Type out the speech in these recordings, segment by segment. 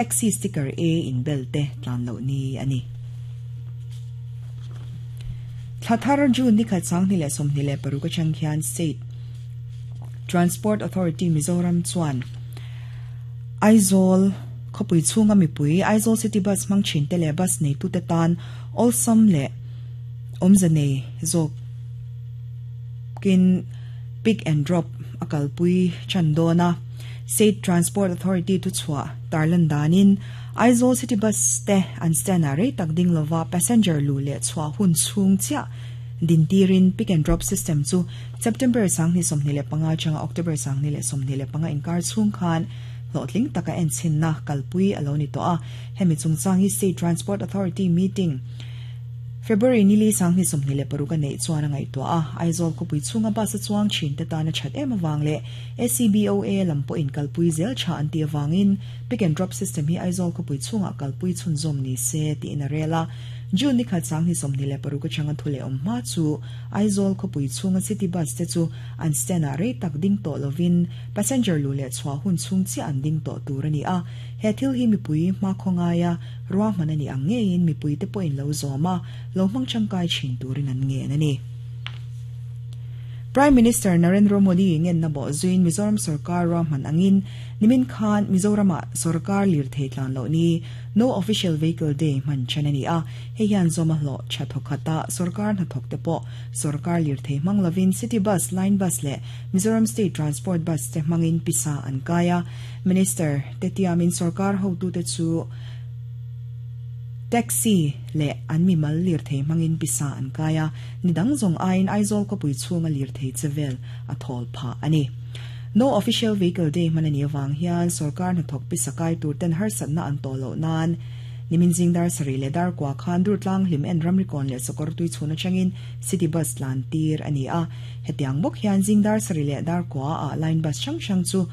Taxi sticker A in bel te tlan loh ni a ni. Thla thar June ni khat 2026 atang hian State Transport Authority Mizoram chuan Aizawl khawpui chhunga mipui Aizawl City Bus hmang thin te leh bus neitute tan awlsam leh awmze nei zawkin pick and drop a kalpui tan dawn a. State Transport Authority thuchhuah tarlan danin Aizawl City Bus te an stand ah rei tak ding lova passenger luh leh chhuah hun chhung chiah din tirin pick and drop system chu September 2025 atanga October 2025 inkar chhung khan hlawhtling taka enchhinna kalpui a lo ni tawh a. Hemi chungchang hi State Transport Authority meeting February nili 2026 a neih chuan a ngaihtuah a, Aizawl khawpui chhunga bus a chuang thin te tan a that em avang leh ACBOA lam pawhin kalpui zel tha an tih avangin pick and drop system hi Aizawl khawpui chhungah kalpui chhunzawm ni se tiin a rel a. June ni khat 2026 atanga thu leh awm hma chu Aizawl khawpui chhunga city bus te chu an stand ah rei tak ding tawh lovin passenger luh leh chhuah hun chhung chiah an ding tawh tur a ni a. He thil hi mipui hmakhua ngaia ruahman a nih ang ngeiin mipuite pawhin lo zawm a, lo hmang tangkai thin turin an ngen a ni. Prime Minister Narendra Modi ngenna bawh zuiin Mizoram sorkar ruahman angin nimin khan Mizoramah sorkar lirthei tlan loh ni No Official Vehicle Day hman then a ni a, hei hian zawma hlawh tha thawkhat a, sorkar hnathawkte pawh sorkar lirthei hmang lovin City Bus, Line Bus leh Mizoram State Transport Bus te hmangin pisa an kai a, Minister te tiamin sorkar hotute chu Taxi leh an mimal lirthei hmangin pisa an kai a, ni dang zawng aiin Aizawl khawpui chhunga lirthei che vel a thawl phah a ni. No Official Vehicle Day hman a nih avang hian sorkar hnathawk pisa kai tur ten harsatna an tawh loh nan nimin zing dar sarih leh dar kua khan Durtlang hlim en ramrikawn leh sakawr tui chhun atangin City Bus tlan tir a ni a. Hetiang bawk hian zing dar sarih leh dar kua ah Line Bus hrang hrang chu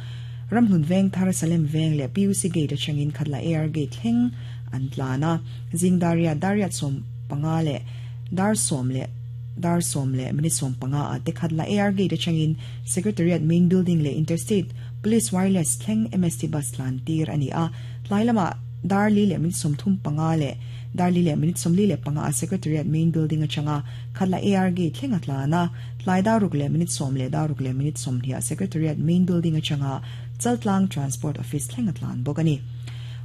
Ramhlun Veng thar Salem Veng leh PUC Gate atangin Khatla AR Gate thleng an tlan a. Zing dar riat dar riat 15 leh dar 10 leh dar 10 leh minute 15 ah te Khatla AR Gate atangin Secretariat Main Building leh Interstate Police Wireless thleng MST Bus tlan tir a ni a. Tlai lamah dar li leh minute 35 leh dar li leh minute 45 ah Secretariat Main Building atanga Khatla AR Gate thleng a tlan a. Tlai dar ruk leh minute 10 leh dar ruk leh minute 20 ah Secretariat Main Building atanga Chaltlang Transport Office thleng a tlan bawk a ni.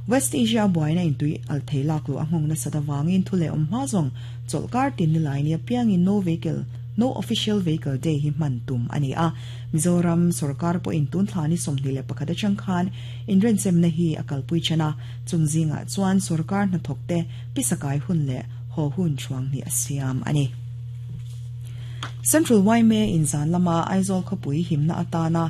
West Asia a buaina intui al thei lak luh a nghawng nasat avangin thu leh awm hma zawng chawlhkar tin ni lai nia piangin No Vehicle, No Official Vehicle Day hi hman tum a ni a. Mizoram sorkar pawhin tun thla ni 21 atang khan inrenchemna hi a kalpui then a, chung zingah chuan sorkar hnathawkte pisakai hun leh haw hun thuang hnih a siam a ni. Central yma in zan lama Aizawl khawpui himna atana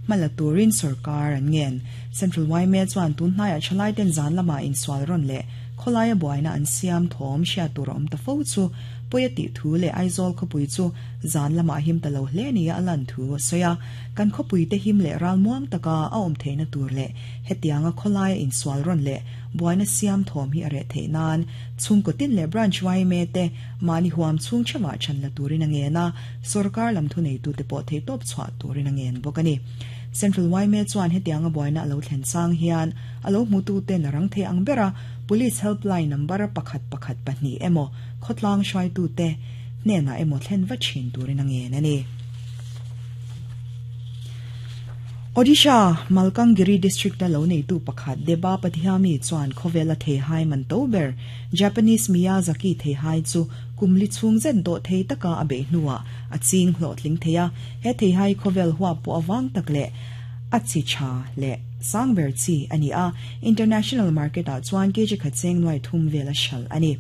hmala turin sorkar an ngen. Central yma chuan tun hnaiah thalai ten zan lama insual rawn leh khawlaia buaina an siam thawm hriat tur a awm ta fo chu pawi a tih thu leh Aizawl khawpui chu zan lamah him ta lo hle nia a lan thu a sawi a. Kan khawpui te him leh ralmuang taka a awm theihna tur leh hetianga khawlaia insual rawn leh buaina siam thawm hi a reh theih nan chhungkaw tin leh branch yma te mahni huam chhung theuhah chhan la turin a ngen a, sorkar lam thuneitute pawh theihtawp chhuah turin a ngen bawk a ni. Central yma chuan hetianga buaina a lo thlen chang hian a lo hmututen a rang thei ang bera Police Helpline number pakhat pakhat pahnih emaw khawtlang hruaitute hnenah emaw thlen va thin turin a ngen a ni. Odisha, Malkangiri District-a lo neitu pakhat Deba Padhyami chuan khawvela theihai man to ber Japanese Miyazaki theihai chu kum li chhung zet dawh thei taka a beih hnuah a ching hlawhtling thei a. He theihai khawvel huap pawh avang tak leh a chi tha leh sang ber chi a ni a, international market-ah chuan kg khat cheng nuai thum vel a hralh a ni.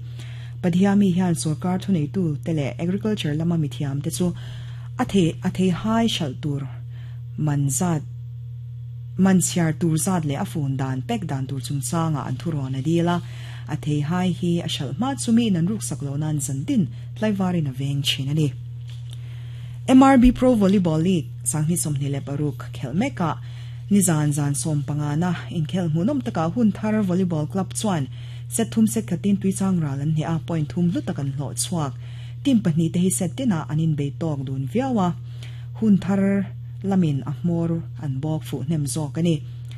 Padhyami hian sorkar thuneitu te leh agriculture lama mithiam te chu a thei a theihai hralh tur man zat man chhiar tur zat leh a fun dan pack dan tur chungchangah an thurawn a dil a. A theihai hi a hralh hma chu miin an ruksak loh nan zantin tlaivarin a veng thin a ni. MRB Pro Volleyball League 2026 khelh mekah nizan zan 15na inkhelh hmuhnawm takah hun thar volleyball club chuan set thum set khatin tuichang ral an hneh a, point thum hlu tak an hlawh chhuak. Team pahnih te hi set tinah an inbei tawk dun viau a, hun thar lamin a hmawr an bawk fuh hnem zawk a ni.